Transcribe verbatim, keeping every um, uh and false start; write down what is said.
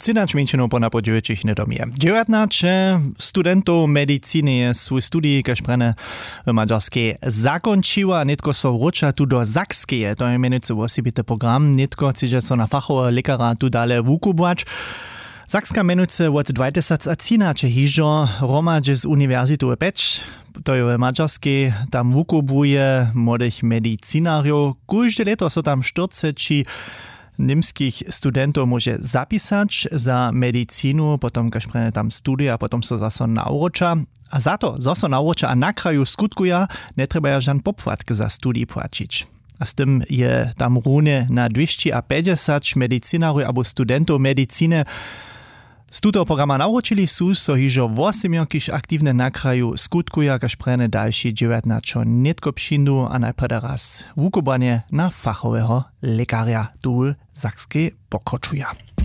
Třinaće mjeńšinow po napoł dźewjećich hnydom je dźewjatnaće studentow mediciny je swój studij kaž prjene w madźarskej zakónčiła a nětko so wróća tu do sakskeje. To je mjenujcy wosebity program nětko chcedźe so na fachoweho lěkara tu dale wukubłać. Sakska mjenujcy wot dwatysacatřinaće hižo hromadźe z uniwersitu w peć, to je w madźarskej, tam wukubłuje młodych medicinarjow. Kóžde lěto so tam štyrceći němskich studentow móže zapisać za medicinu, potom kaž prjene tam studija a potom so zaso nawróća. A za to zo so nawróća a na kraju skutkuja, njetrjebaja žan popłatk za studij płaćić. A z tym je tam runje na dwěsći a pjećdźesać medicinarjow abo studentow mediciny. Z tutoho programa nawróćili su so hižo wosebnjo kiž aktiwne na kraju skutkuja kaž prjene dalši dźewjatnaćo nětko přińdu a najprjedy raz wukubłanje na fachoweho lěkarja tu w sakskej pokročuja.